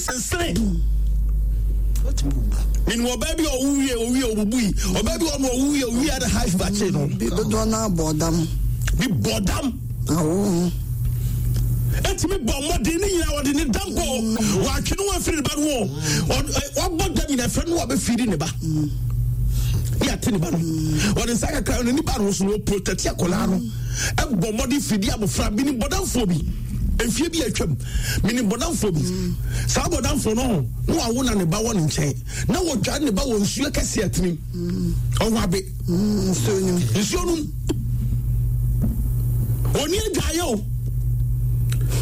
Sensene. Menim ɔbaa bi a ɔwo wie owie ɔbubui. Ɔbaa bi ɔno ɔwo wie owie ada high fever kye no. Bi dodoɔ no abɔ dam. Bi bɔ dam. Awo. Etumi bɔ mmɔden ne nyinaa ɔde ne dam kɔ. Wɔatwe ne ho afiri ne ba no ho. Wabɔ dam nyinaa fɛ no wabɛfiri ne ba. Ne ate ne ba no. Ɔde nsa kakra ne ba no so no ɔprotɛte akwadaa no. Ɛbɔ mmɔden fidi abɔfra bi ne bɔdamfoɔ bi. Mfie bi atwam menim bɔdamfoɔ bi saa bɔdamfoɔ no na wawo na ne ba wɔ ne nkyɛn na wɔdware ne ba wɔ nsuo kɛseɛ atini ɔho abe nsuo nom wɔni adwaeɛ o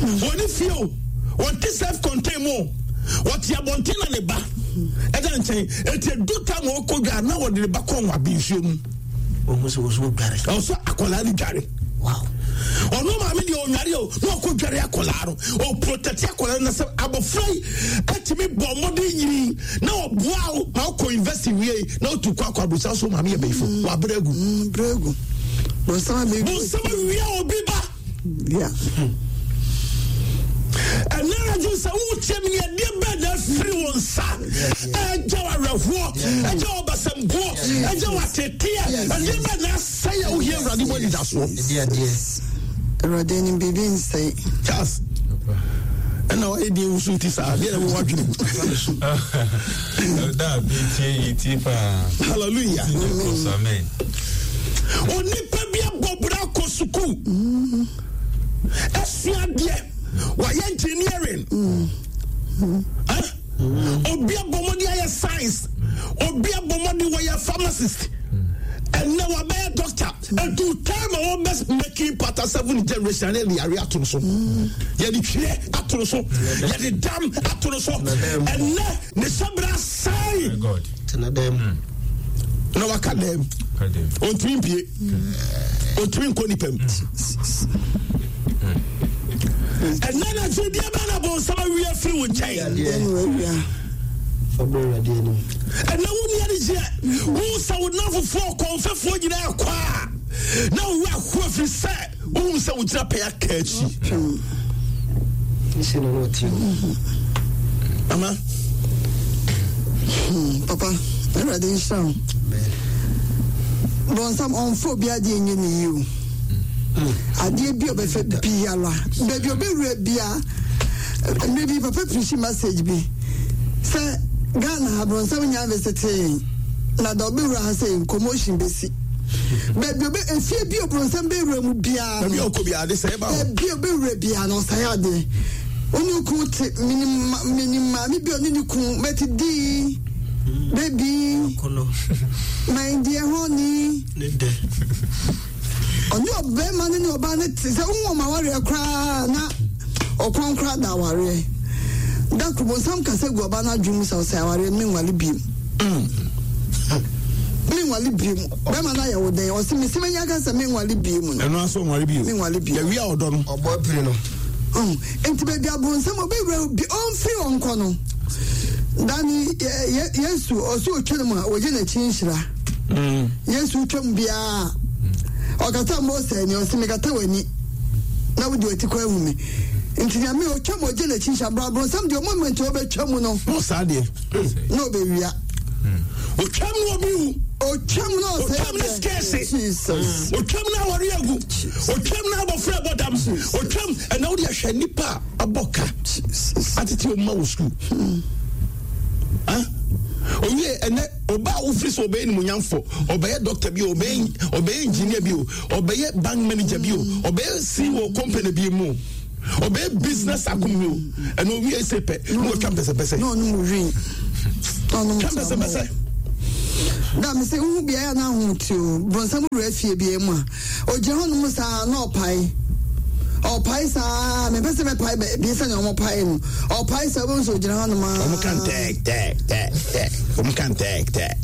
wɔni fie o wɔnte self contain mu o wɔte abɔnten na ne ba ɛda nkyɛn eti edu tam ɔkɔ dwa na wɔde ne ba kɔ ɔho abe nsuo mu. Ohun sɛ wɔsɔ dware. Ɔsɔ akwadaa no dware. Wow. Ɔno maame deɛ ɔnware o na ɔkɔ dware akwadaa no ɔprotɛte akwadaa no na sɛ abɔfra yi atumi bɔ mmɔden nyini na ɔboa wo ma ɔkɔ university wie na ɔtu kɔ akɔ aburusa so maame yɛ bɛyifo mm. wabrɛ agu. Mm, brɛ agu. Bonsam awia obi ba. Yeah. Ɛnɛ anadwo sɛ wotie me ne adeɛ bɛɛ na afiri wo nsa ɛgya wo awerɛhoɔ ɛgya wo basamboɔ ɛgya wo ateteɛ ɛdeɛ bɛɛ na asɛe a wohia awurade mu anidasoɔ. Awurade anim biribi nsɛe. Charles ɛna wayɛ deɛ wusu ti saa deɛ na ɛwɔ wadwene mu. Hallelujah. Amen. Onipa bi abɔ bra kɔ sukuu asua adeɛ wayɛ engineering obi abɔ mmɔden ayɛ science obi abɔ mmɔden wɔyɛ pharmacist ɛnɛ wabɛyɛ doctor edu time a wɔbɛ making pata seven generation ne yɛde yare ato no so yɛde twerɛ ato no so yɛde dam ato no so ɛnɛ ne hyɛbrɛ asɛe. Tena dan mu. Na waka dan mu. Ɔntumi mpie. Ɔntumi nkɔ nipa mu. Ɛnɛ na gyedeɛ bɛ na bɔnsam awi afiri wo nkyɛn. Ɛnɛ wo nua ne gyeɛ wo sɛ wo namfofoɔ kɔnfɛfoɔ nyinaa kɔ a na wo aho afiri sɛ Wohu sɛ wogyina pɛn aka akyi. Mama. Papa, Awurade nhyira wo. Bɔnsam ɔmfa obi adeɛ nyɛ ne yie o. Adeɛ bi a ɔbɛfɛ biara, baabi ɔbɛwura biara, mmerɛ bi papa pirikyi message bi sɛ Ghana ha bɔnsam nya visitee yɛn na da ɔbɛwura ha sɛ commotion bɛsi. Baabi obe efie bi obronsam bɛwura mu biara no. Baabi a ɔkɔ biara ade sɛe ba hɔ. Baabi a ɔbɛwura biara no ɔsɛe adeɛ. Ɔne okun te menim menim maame bi a ɔne ne kun bɛte dii baby my dear honey. Ne dɛ. Ɔne ɔbɛrima no ne ɔbaa no te sɛ wohu wɔn awareɛ koraa na ɔkɔn koraa da awareɛ. Da koro bonsam kasa gu ɔbaa no adwene mu sɛ ɔsɛ awareɛ no menwale biem. Menwale biem. Bɛrima no ayɛ wo dɛn? Ɔse mese manya ka sɛ menwale biem no. Ɛno aso ɔnwale bio. Menwale bio. Yɛwia ɔdɔ no. Ɔbɔ apiri no. Nti baabi abonsam ɔbɛwura bi ɔmfiri ɔnkɔ no. Dani Yesu ɔso otwa mu a wɔgye n'akyi nhyira. Yesu twam biara ɔkata Mose ani ɔse mekata w'ani na wode w'ati kɔ ahu me. Nti Nyame otwam ɔgye n'akyi nhyira. Brabonsam deɛ ɔmo mɛnti ɔbɛtwa mu no. Ɔsaa deɛ. Na ɔbɛwia. Otwam na obi wu. Otwam na ɔsɛ. Otwam na sikɛɛse. Jesus. Otwam na awɔre agu. Otwam na abɔfra ɛbɔ dam. Otwam ɛna wode ahwɛ nipa a abɔ ka. Atete ɔma wɔ sukuu. Owie ɛnɛ ɔba a wofiri sɛ ɔbɛyɛ nimunyamfo, ɔbɛyɛ doctor bi o, ɔbɛyɛ ɔbɛyɛ engineer bi o, ɔbɛyɛ bank manager bi o, ɔbɛyɛ CEO company bi mu o. Ɔbɛyɛ business akom mi o ɛna owie ese pɛ na wɔtwa mpɛsɛmpɛsɛ. Na ɔno mu win. Na ɔno mu twa mpɛsɛmpɛsɛ. Da me sɛ wohu beaeɛ a na ho te o bronsam wura fie bi mu a ogyina hɔ nom saa na ɔpae ɔpae saa mepɛ sɛ mɛpae baabi sɛnea ɔmo pae no ɔpae saa wobɛhu sɛ ogyina hɔ nom a ɔmo ka ntɛɛ tɛɛ tɛɛ tɛɛ ɔmo ka ntɛɛ tɛɛ.